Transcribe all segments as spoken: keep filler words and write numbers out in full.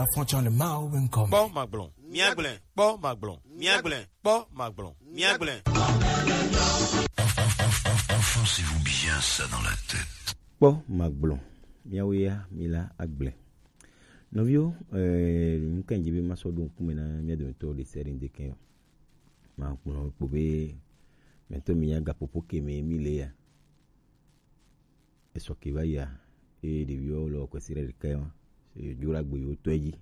Affrontant le Mao Wincom. Kpɔ magblɔ, míagblẽ. Kpɔ magblɔ, míagblẽ. Kpɔ magblɔ, míagblẽ. Enfoncez-vous bien ça dans la tête. Kpɔ magblɔ, míawo ya, míla agblẽ. Nɔviwo, eh, nu ka dzi be masɔ ɖo ŋkume na mía dometɔ ɖe sia ɖe ŋdeke o. Magblɔ kpo be, mɛtɔ mi nya gaƒoƒo ke me mi le ya. Esɔ ke va yia, eye ɖeviwo le wɔ kwesi ɖe ɖeka ma, se dzro agbe yewo tɔe dzi.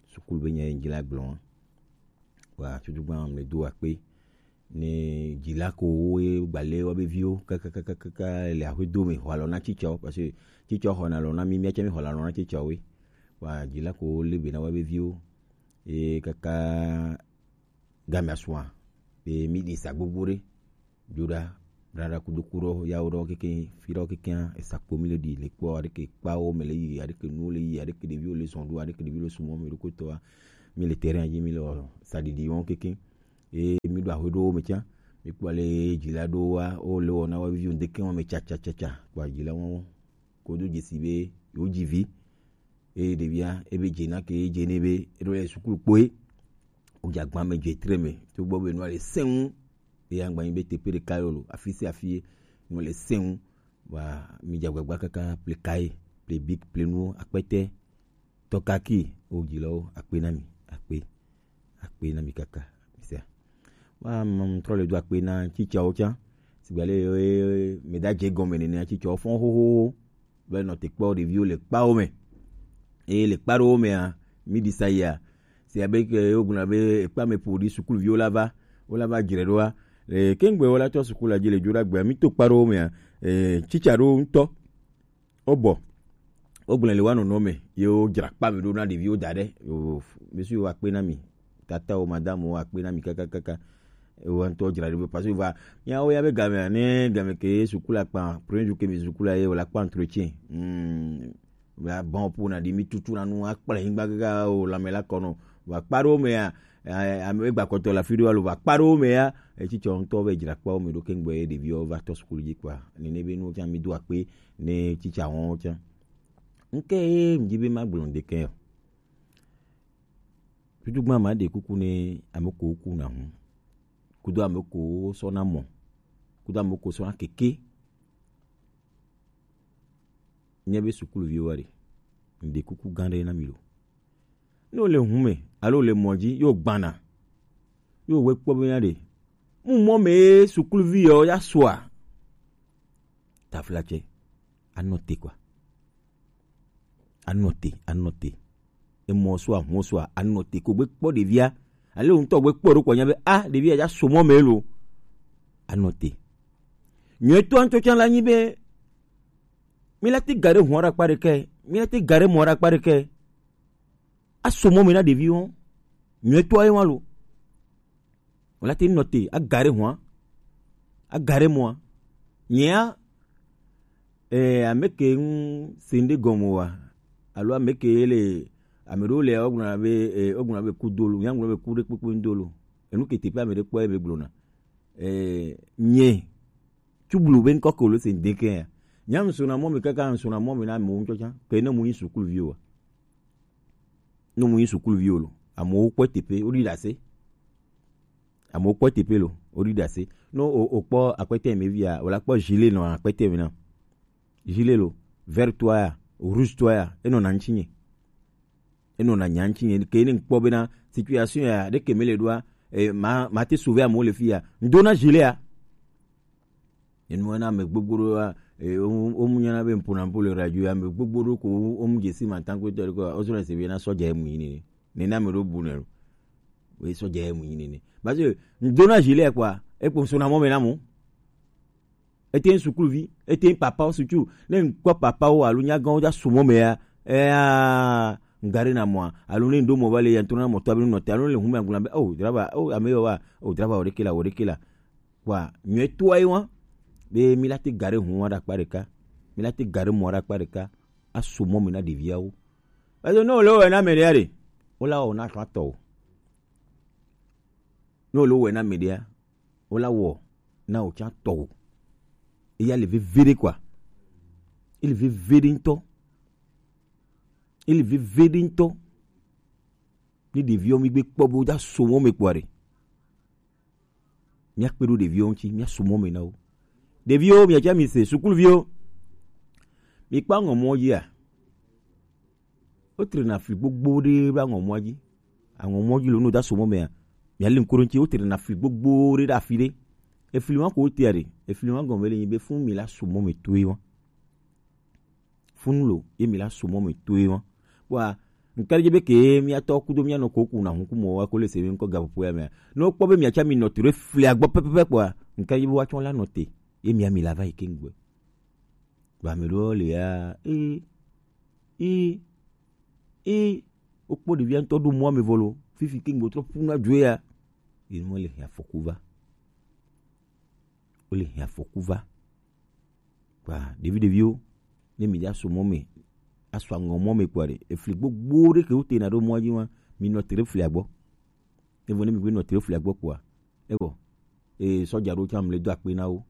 Sukulu be nya ye ŋdzi la gblɔ wa. Wa tutu gba me do akpe. Ne dzila ko wo ye gbalẽ wobe viwo kakakakaka le aƒedo me xɔ alɔ na tsitsawo, parce que tsitsawo xɔna alɔ na mi, míatsɛ mi xɔna alɔ na tsitsawo. Wa dzila ko wo le be na wobe viwo. Ye kaka game asua, be mi ɖi sa gbogbo ɖe. Dzo ɖa, ɖaɖa kudo ku ɖɔ, yawo ɖɔ keke, fi ɖɔ keke, esakpo mi le ɖi, le kpɔ, aɖeke kpawo me le yi, aɖeke nuwo le yi, aɖeke ɖeviwo le zɔn ɖo, aɖeke ɖeviwo le sumɔ me ɖo kotɔa, mi le terrain dzi, mi le wɔ saɖiɖi wɔm keke. Ye mi ɖo aƒe ɖowo me tsã, mi kpɔ ale dzila ɖowoa, wo le wɔ na wo viwo ŋdeke wɔm me tsatsatsatsa, kpɔ dzila wɔm. Kodo dzesi be yewo dzi vi. Eye ɖevia, ebe dze na ke, ye dze nɛ be, eɖo le sukulu kpoe. Wodze agba me dze tre me. To gbɔ be nua le sẽŋu. Eye agba nyi be teƒe ɖeka yo lo, afi sia afi ye nua le sẽŋu. Wa, mi dze agbagba kaka ple kaye, ple bic, ple nuwo, akpete, tɔkaki, wo dzilawo, akpe na mi, akpe. Akpe na mi kaka. Misia. Wa, m-, m-, trɔ le do akpe na tsitsawo tsã. Sigba le, eh, me da dze gɔme nene, tsitsawo fɔn xoxo. Be nɔ te kpɔ ɖeviwo le kpawo me. Eye le kpa ɖewo mea, mi ɖi sa yia. Se abe ke wo gblɔna be ekpa me ƒo ɖi sukuluviwo la va, wo la va dzre ɖoa. Le kengbe wo la tɔ sukulu la dzi le dzo ɖa gbea, mi to kpa ɖewo mea, eh, tsitsa ɖewo ŋutɔ. Wo bɔ. Wo gblẽ le wa nɔnɔ me. Ye wo dzra kpa me ɖo na ɖeviwo da ɖe. Yo, monsieur, wo akpe na mi. Tata wo, madame wo, akpe na mi kakakaka. Wo ŋutɔ dzra ɖo, parce que va, ya wo ya be game, ne game ke sukulu akpa, premier jour ke mi sukulu ye, wo la kpa entretien. Hmm. Wa bon pour na di mi tutu na nu akple nyigba gaga o la me la kono. Wa kpa ɖewo mea, eh, ame gba kɔtɔ la fi ɖo alo va kpa ɖewo mea, etsitsɔ ŋutɔ be dzra kpawo me ɖo kengbe ɖeviwo va tɔ sukulu dzi kpa. Nene be nu tsã mi do akpe ne tsitsa wɔn tsã. Nke ye mi dzi be ma gblɔ ŋdeke o. Tutu gba ma ɖe kuku ne ame ko ku na hu. Kudo ame ko sɔ na mɔ. Kudo ame ko sɔ na keke. Nye be sukuluviwo wa ɖe. Ŋde kuku gã ɖe na mi lo. Ne wole hu me, alo wole mɔ dzi, yo gbana. Yo we kpɔ be na ɖe. Mu mɔ me sukuluvi yo ya soa. Taflatse. Anɔ te kwa. Anɔ te, anɔ te. Emɔ soa, hu soa, anɔ te ko gbe kpɔ ɖevia. Ale ŋutɔ gbe kpɔ ɖo kpɔ nya be, a, ɖevia ya so mɔ me lo. Anɔ te. Nyuie to antɔ tsã la nyi be, mi la ti ga ɖe hu ɖe akpa ɖeka, mi la ti ga ɖe mɔ ɖe akpa ɖeka. Aso mɔ me na ɖeviwo. Nyuie to aye wa lo. Wala te nɔ te, agare hua, agare mɔa. Nyea, eh, ame ke ŋu sende gɔme wa, alo ame ke le, ame ɖewo le, wogblɔna be, eh, wogblɔna be kudolo, nyagblɔ be ku ɖe kpekpe ŋdolo. Enu ke teƒe ame ɖe kpɔ ebe gblɔna. Eh, nye, tublu be ŋkɔ ke wolo sende ke ya. Nya ŋsona mɔ me kaka ŋsona mɔ me na amewo ŋtsɔ tsã, ke ne mu yi sukuluvi wa. Ne mu yi sukuluvi lo, amewo kpɔe teƒe, woɖi ɖase. Amewo kpɔe teƒe lo, woɖi ɖase. Ne o, o kpɔ akpɛtɛ me via, wòla kpɔ gilet nɔ akpɛtɛ me na. Gilet lo, vert toa ya, rouge toa ya, enɔ na ŋuti nye. Enɔ na nya ŋuti nye. Ke ne ŋkpɔ bena situation ya, ɖeke me le ɖoa, eh, ma, ma te sauver amewo le fi ya. Ŋdo na gilet ya. Enu na ame gbogbo ɖo, eh, wo, wo mu nyana be mpona mpo le radio, ame gbogbo ɖo ko wo, wo mu dzesi ma tanko tɔ ko, o sɔ na se be na sɔja emu yi nene. Ne na me ɖo bu ne lo. We sɔja emu yi nene. Parce que ŋdo na gilet quoi, e ko sona mɔ me na mo. Ete sukuluvi, ete papa wo sutu. Ne ŋkpɔ papa wo alo nyagãwo ja sumɔ me ya, eh, ŋgare na mɔa, alo ne ŋdo mɔ va le ya ŋtɔ na mɔ tɔ be nɔ te, alo le hu me agblɔ be, oh, driver, oh, ame yo wa, oh, driver, o ɖeke la, o ɖeke la. Kpɔa, nyɔe toa ye wa, be mi la te ga ɖe hu wa ɖe akpa ɖeka, mi la te ga ɖe mɔ ɖe akpa ɖeka, aso mɔ me na ɖeviawo. Parce que ne wole wɔe na ame ɖea ɖe, wola wɔ na tɔ atɔ o. Ne wole wɔe na ame ɖea, wola wɔ na wò tsã tɔ o. Eya le veve ɖe quoi. Ele veve ɖe ŋutɔ. Ele veve ɖe ŋutɔ. Ni ɖeviwo mi gbe kpɔ bo da so mɔ me kpɔ ɖe. Mia kpe ɖo ɖeviwo ŋuti, mia so mɔ me na wo. Ɖeviwo, mia tsa mi se, sukuluviwo. Mi kpɔ aŋɔmɔ dzia? Wotrena fli gbogbo ɖe ɖo aŋɔmɔa dzi. Aŋɔmɔ dzi lo, no da so mɔ mea, mia le ŋku ɖo ŋuti, wotrena fli gbogbo ɖe ɖe afi ɖe. Efli wa ko wotea ɖe, efli wa gɔme le nyi be fun mi la so mɔ me toe wa. Fun lo, ye mi la so mɔ me toe wa. Kpɔa, ŋkɛɖe dze be ke mia tɔ kudo mia nɔ ko ku na hu ku mɔ wa ko le se mi ŋkɔ gaƒoƒo ya mea. Ne wokpɔ be mia tsa mi nɔ te ɖe flia gbɔ pɛpɛpɛ kpɔa, ŋkɛɖe dze be woatsɔ la nɔ te, ye mia mi la va yi ke ŋgbe. Ba me ɖewo le ya, ee, ee, ee, wokpɔ ɖevia ŋutɔ ɖo mɔa me vɔ lo, fifi ke ŋgbe trɔ ƒu na dzoe ya, ye mɔ le hia afɔku va, wole hia afɔku va. Kpa ɖevi ɖeviwo, ne mi dza so mɔ me, aso aŋɔ mɔ me kpɔa ɖe, efli gbogbo ɖe ke wotena ɖo mɔa dzi wa, mi nɔ te ɖe flia gbɔ. Evɔ ne mi gbe nɔ te ɖe flia gbɔ kpɔa, evɔ, ee, sɔdza ɖo tsã mi le do akpe na wo.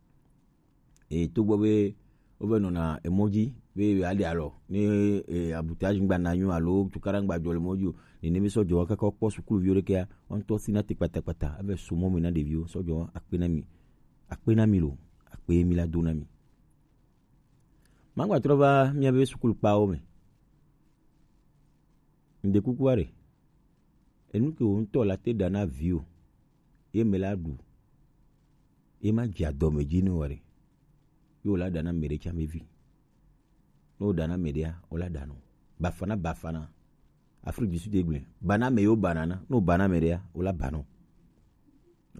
Eye togbɔ be wova nɔna emɔ dzi be yewoaɖe alɔ ne, e, abuta ŋgba na nyo alo tukaɖa ŋgba dzɔ le mɔ dzi o. Nene be sɔdzɔ kaka kpɔ sukuluviwo ɖekea, wo ŋutɔ sina te kpatakpata ave so mɔ me na ɖeviwo. Sɔdzɔ akpe na mi, akpe na mi lo, akpe mi la do na mi. Magba trɔ va miabe sukulukpawo me. Ŋde kukua ɖe. Enu ke wò ŋutɔ la te ɖa na viwò, ye me la ɖu, ye ma dze adɔme dzi ne wò ɖe, ye wòla ɖa na ame ɖe tsã vevi. Ne wòɖa na ame ɖea, wòla ɖa nɔ. Bafana, bafana. Afrique du Sud egblɔe. Ba na ame yewo bana na. Ne wòba na ame ɖea, wòla ba nɔ.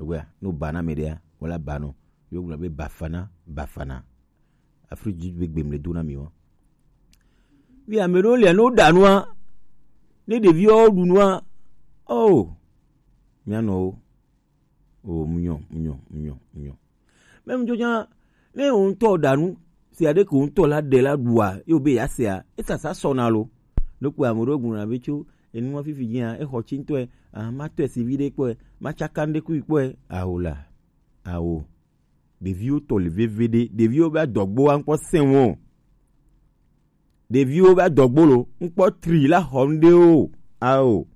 Egbea, ne wòba na ame ɖea, wòla ba nɔ. Yewo gblɔ be bafana, bafana. Afrique du Sud be gbe mle do na mi wa. Bi ame ɖewo lia, ne woɖa nua, ne ɖeviwo ɖu nua, oh, mia nɔ wo. Oh, munyɔ, munyɔ, munyɔ, munyɔ. Même dzodza, ne wò ŋutɔ ɖa nu, si aɖe ko ŋutɔ la ɖe la ɖua, ye wòbe ya sea, esasa sɔna lo. Ɖokpo ame ɖewo gblɔna be tso enua fifi dzia, exɔ tsi ŋutɔe, ah, matɔe si vi ɖe kpɔe, matsaka ŋɖe kui kpɔe, awo la, awo. Ɖeviwo tɔ le veve ɖe, ɖeviwo be adɔgbo wa ŋkpɔ sɛn wo. Ɖeviwo be adɔgbo lo, ŋkpɔ tri la xɔ ŋɖe o, ao.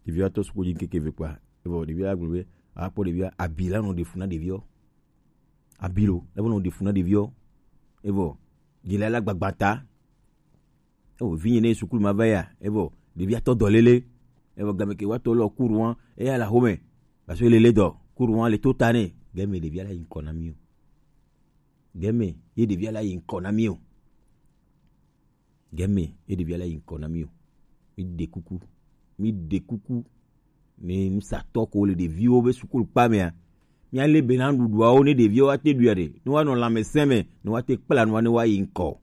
Ɖeviwo atɔ suku dzi ŋkeke ve kpɔa, evɔ ɖeviwo agblɔ be, akpɔ ɖeviwo, abi la nɔ ɖe fu na ɖeviwo. Abi lo, la nɔ ɖe fu na ɖeviwo. Evɔ, dzi la la gbagba ta. Evɔ, vinye ne sukulu ma va ya, evɔ, ɖevi atɔ dɔ lele. Evɔ, game ke wa tɔ lɔ kuru wa, eya la home. Parce que lele dɔ, kuru wa le to ta ne. Game ɖevi la yi ŋkɔ na mi o. Game, ye ɖevi la yi ŋkɔ na mi o. Game, ye ɖevi la yi ŋkɔ na mi o. Mi ɖe kuku. Mi ɖe kuku. Ne nusatɔ ko le ɖeviwo be sukulu kpa mea, mia le be na ɖuɖuawo ne ɖeviwo wa te ɖuia ɖe. Ne wa nɔ lãmesẽ me, ne wa te kpla nua ne wa yi ŋkɔ.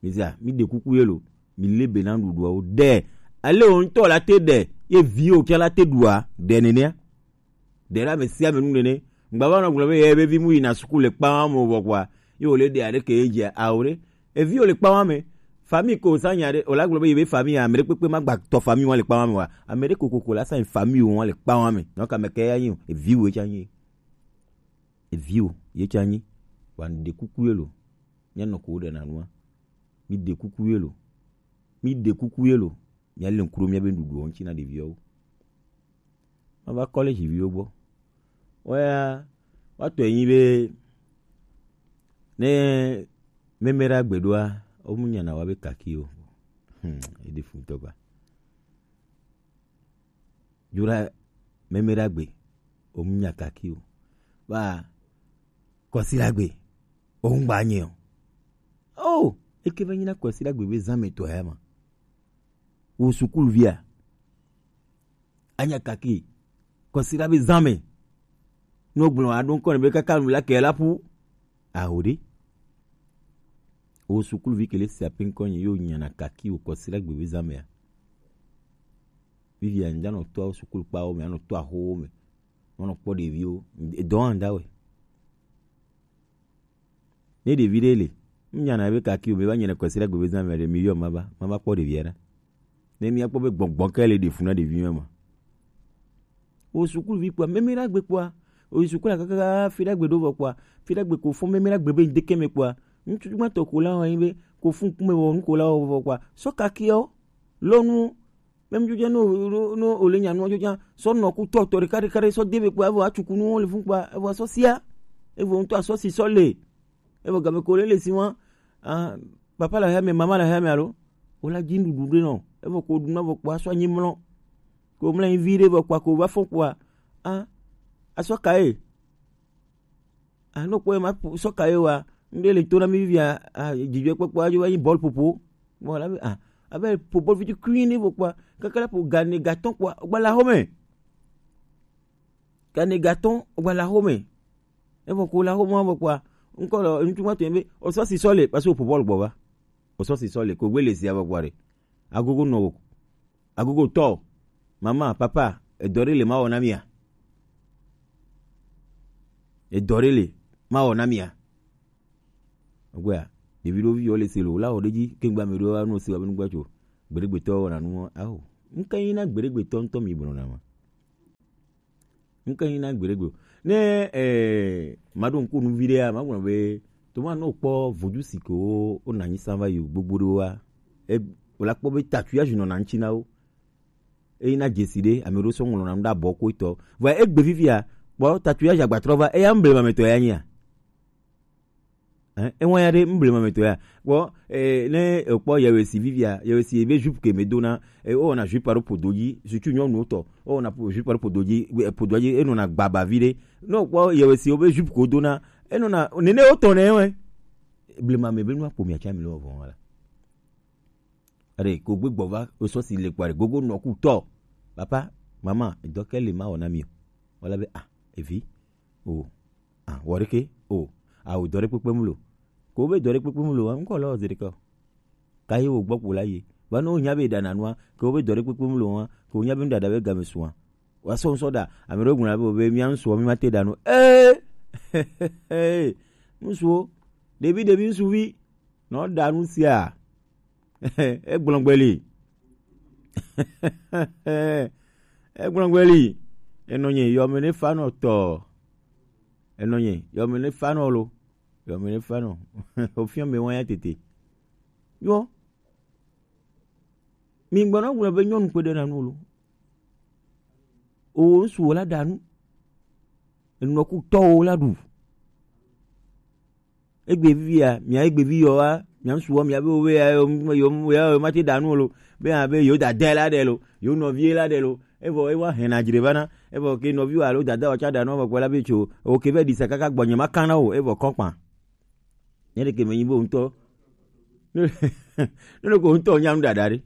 Mizia, mi ɖe kuku ye lo. Mi le be na ɖuɖuawo. Ɖe. Ale wo ŋutɔ la te ɖe. Ye viwo ke la te ɖua. Ɖe nenea. Ɖe la me sia me nu nene. Ŋgba va nɔ gblɔ be ye be vi mu yina suku le kpa wa mo vɔ kpɔa. Ye wo le ɖe aɖe ke ye dze awo ɖe. Evi wo le kpa wa me. Famille ko sa nya ɖe. O la gblɔ be ye be famille ame ɖe kpekpe ma gba tɔ famille wa le kpa wa me wa. Ame ɖe kokoko la sa famille wa le kpa wa me. Donc ame ke ya nyi o. Evi wo ye tsa nyi. Evi wo ye tsa nyi. Wa ɖe kuku ye lo. Mia nɔ ko ɖe na nua. Mi ɖe kuku ye lo. Mi ɖe kuku ye lo. Mia le ŋku ɖo mia be nuɖuɖuwo ŋuti na ɖeviawo. Ma va kɔlɛdzi viwo gbɔ. Woya, woatɔe nyi be ne meme ɖe agbe ɖoa, womu nyana wa be kaki o. Hmm, eɖi fu ŋutɔ gba. Dzro ɖa meme ɖe agbe, womu nya kaki o. Ba kɔsi ɖe agbe, womu gba nye o. Oh, eke va nyi na kɔsi ɖe agbe be zã me tɔ ya ma. Wo sukuluvia. Anya kaki. Kɔsiɖa be zã me. No gblɔ aɖo ŋkɔ ne be kaka nu la ke la ƒu. Aho ɖe. Wo sukuluvi ke le sia pe ŋkɔ nyi yo nyana kaki wo kɔsiɖa gbe be zã mea. Vivia ŋdza nɔ tɔ sukulu kpawo me, anɔ tɔ ahowo me. Nɔ kpɔ ɖeviwo. Edɔ hã ŋda wɛ. Ne ɖevi ɖe le, ŋnyana be kaki o, me va nyana kɔsiɖa gbe be zã me ɖe, mi yɔ ma va, ma va kpɔ ɖevia ɖa. Ne mia kpɔ be gbɔgbɔ ke le ɖe fu na ɖevi ma ma. Wo sukuluvi kpɔa, meme ɖa gbe kpɔa, wo yi sukulu kaka fi ɖa gbe ɖo vɔ kpɔa, fi ɖa gbe ko fɔ meme ɖa gbe be ŋdeke me kpɔa, ŋutsu gbãtɔ ko la wɔ anyi be ko fu ŋkume wɔ nu ko la wɔ vɔ kpɔa, sɔ kakiawo. Lɔnu, même jojo no no no ole nya no jojo, sɔ nɔ ku tɔ tɔ ɖeka ɖeka ɖe sɔ de be kpa, evo atsuku nu le fun kpa, evo asɔ sia, evo ŋutɔ asɔ si sɔ le, evo game ko le le si wa, ah, papa la hame, mama la hame alo, o la dzi nuɖuɖu ɖe nɔ, evo ko ɖu na vo kpa sɔ anyi mlɔ, ko mlɔ anyi vi ɖe vo kpa ko va fɔ kpa, ah, asɔ ka ye. Ah, no kpɔe ma sɔ ka ye wa. Ŋɖe le to na mi via, ah, dzidzɔkpɔkpɔ adzo va yi bɔl popo. Bon, la ah, abe po bɔl fiti kui ne vo kpɔa. Kaka la po gane gaton kpɔa, gba la home. Gane gaton, gba la home. E vo ko la home vo kpɔa. Ŋkɔ lɔ ŋutsu ma to be o sɔ si sɔ le, parce que o po bɔl gbɔ va. O sɔ si sɔ le ko gbe le zia vo kpɔa re. Agogo nɔ wo. Agogo tɔ, mama, papa, edɔ ɖe le ma wɔ na mia? Edɔ ɖe le ma wɔ na mia? Ogbea, ɖevi ɖo vi yɔ le se lo, la wɔ ɖe dzi, kengba mi ɖo anu se wa be nugba tso. Gbeɖegbetɔ wɔna nu, aho. Ŋke yi na gbeɖegbetɔ ŋutɔ mi gblɔ na ma. Ŋke yi na gbeɖegbe o. Ne, eh, maɖo ŋku nu vi ɖea, magblɔ be, to ma nɔ kpɔ vodu si ke wo, wo na nyi san va yi gbogbo ɖe wa. E, wòla kpɔ be tatu ya zinɔ na ŋtsi na wo. Eyi na dzesi ɖe, ame ɖo sɔ ŋlɔ na nu ɖe abɔ ko etɔ. Vɔ egbe vivia, kpɔ tatu ya zi agbatrɔ va, eya ŋble ma me tɔ ya nyia. Hein, ewa ya ɖe ŋble ma me tɔ ya. Kpɔ, eh, ne ekpɔ yewe si vivia, yewe si ebe jupe ke me dona, eh, o na jupe aro podo dzi, surtout nyɔnu tɔ, o na po-, jupe aro podo dzi, eh, podo dzi, eno na gbaba vi ɖe. No kpɔ yewe si obe jupe ko dona, eno na, nene o tɔ ne we. Blema me be nu akpo mi atsa mi le vɔ la. Are ko gbe gbɔ va, o sɔ si le kpare, gogo nɔ ku tɔ. Papa, mama, edɔ ke le ma wɔ na mi o. Wala be, ah, evi, o, ah, wɔ ɖeke, o, ah, o dɔ ɖe kpekpe mu lo. Ko be dɔ ɖe kpekpe mu lo, ŋkɔ lɔ zi ɖeke o. Ka ye wo gbɔ kpo la ye. Va no nya be ɖa nanua, ke wo be dɔ ɖe kpekpe mu lo wa, ke wo nya be nu ɖaɖa be game sua. Wa sɔ ŋsɔ ɖa, ame ɖewo gblɔna be, be mía ŋsuɔ, mi ma te ɖa nu. Ee! Ŋsuwo, ɖevi, ɖevi ŋsuvi, nɔ ɖa nu sia. Egblɔ gbe li. Egblɔ gbe li. Enɔ nye yɔme ne fa nɔ tɔ. Enɔ nye yɔme ne fa nɔ lo. Yɔme ne fa nɔ. Ofiɔ me wa ya tete. Yɔ. Mi gbɔna gblɔ be nyɔnu kpe ɖe na nu lo. O ŋsu wo la ɖa nu. Enɔ ku tɔ wo la ɖu. Egbe vivia, mia egbe vi yɔ wa, mia ŋsu wa, mia be wo ya yo yo ya yo ma te ɖa nu lo. Be ya be yo dada la ɖe lo, yo nɔvi la ɖe lo. Evɔ ewa hɛn na dzre va na. Evɔ ke nɔvi wa alo dada wa tsa ɖa nu vɔ kpɔ la be tso. O ke be ɖi sa kaka gbɔ nye ma kan na o, evɔ kɔkpa. Nye ɖeke me nyi be ŋutɔ. Ne ko ŋutɔ nya nu ɖaɖa ɖe.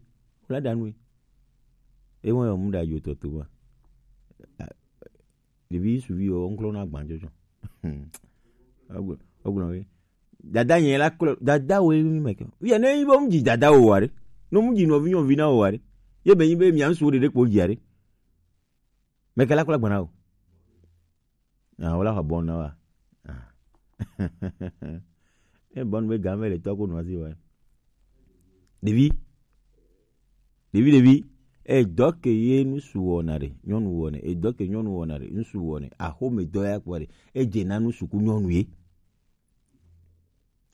Wo la ɖa nu. Ewa yo mu ɖa yo tɔ to wa. Ɖevi suvi wo ŋklɔ na gbanjɔjɔ. Ogblɔ we. Dada nye la klo, dada wo mi me ke. Ye ne yi bo mu dzi dada wo wa ɖe. No mu dzi nɔvi nyɔvi na wo wa ɖe. Ye be yi be mia ŋsu ɖe ɖe kpo dzi a ɖe. Me ke la klo gbana o. Ah, wo la xɔ bɔn na wa. Ah. E bɔn be game le tɔ ko nɔ asi wa. Ɖevi. Ɖevi, ɖevi. E dɔ ke ye ŋsu wɔna ɖe, nyɔnu wɔnɛ. E dɔ ke nyɔnu wɔna ɖe, ŋsu wɔnɛ. Axome dɔ ya kpɔ ɖe. E dze na ŋsu ku nyɔnu ye.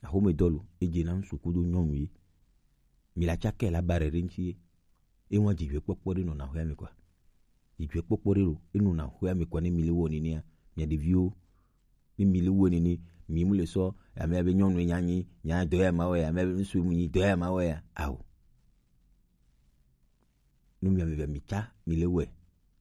Axome dɔ lo, e dze na ŋsu kudo nyɔnu ye. Mi la tsakɛ la ba ɖe ɖe ŋtsi ye. E wa dzidzɔkpɔkpɔ ɖe nɔna xɔa me kɔa. Dzidzɔkpɔkpɔ ɖe lo, e nɔna xɔa me kɔa ne mi le wɔ nenea. Mia ɖeviwo, ne mi le wɔ nene, mi mu le sɔ, ame abe nyɔnu nya nyi, nya dɔ ya ma wɔ ya, ame abe ŋsu mu nyi, dɔ ya ma wɔ ya. Ao. Nu mi ame mi tsa mi le wɛ.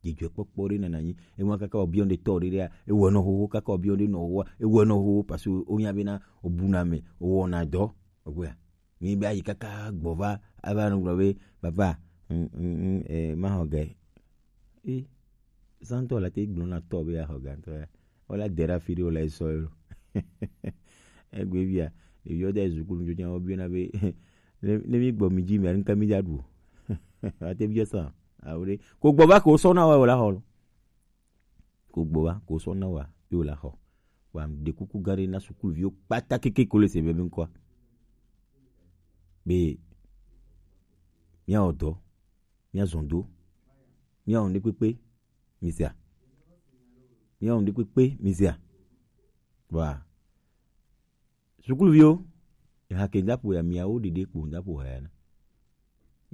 Dzidzɔkpɔkpɔ ɖe nana nyi. Ema kaka obiɔ ɖe tɔ ɖe ɖea, ewɔ nɔ xoxo, kaka obiɔ ɖe nɔ xoxoa, ewɔ nɔ xoxo, parce que wonya bena obuna me, owɔna dɔ. Ogbea. Mi be ayi kaka gbɔ va, ava nɔ gblɔ be, papa, mm, mm, mm, eh, ma xɔ ge. E, santɔ la te gblɔ na tɔ be axɔ ge ŋutɔ ya. Wala de ɖe afi ɖe wòle sɔ ye lo. Egbe via, ɖeviwo de zukulu dzo nya wobiɔna be, ne, ne mi gbɔ mi dzi mia, nu ka mi dza ɖu o? Ate biɔ sa, awo ɖe. Ko gbɔ va ko sɔ na wa wòla xɔ lo. Ko gbɔ va ko sɔ na wa ye wòla xɔ. Wa ɖe kuku gã ɖe na sukuluviwo kpata keke ko le se be be ŋkɔa. Be, miawɔ dɔ, miazɔn do, miawɔ nu ɖe kpekpe, mi sea? Miawɔ nu ɖe kpekpe, mi sea? Wa. Sukuluviwo, eha ke ŋdaƒo ya miawo ɖeɖe kpo ŋdaƒo ha ya na.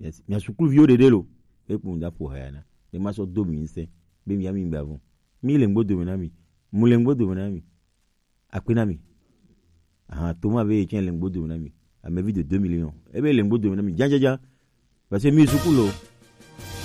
Yes, mia sukuluviwo ɖeɖe lo. Ekpo ŋda ƒo haya na. Ne ma sɔ do mi ŋsɛ. Be mi ami gba vɔ. Mi le ŋgbo dome na mi. Mu le ŋgbo dome na mi. Akpe na mi. Aha, Thomas be yetsɛ le ŋgbo dome na mi. Amevi de deux millions. Ebe le ŋgbo dome na mi. Jajaja. Parce que mi suku lo.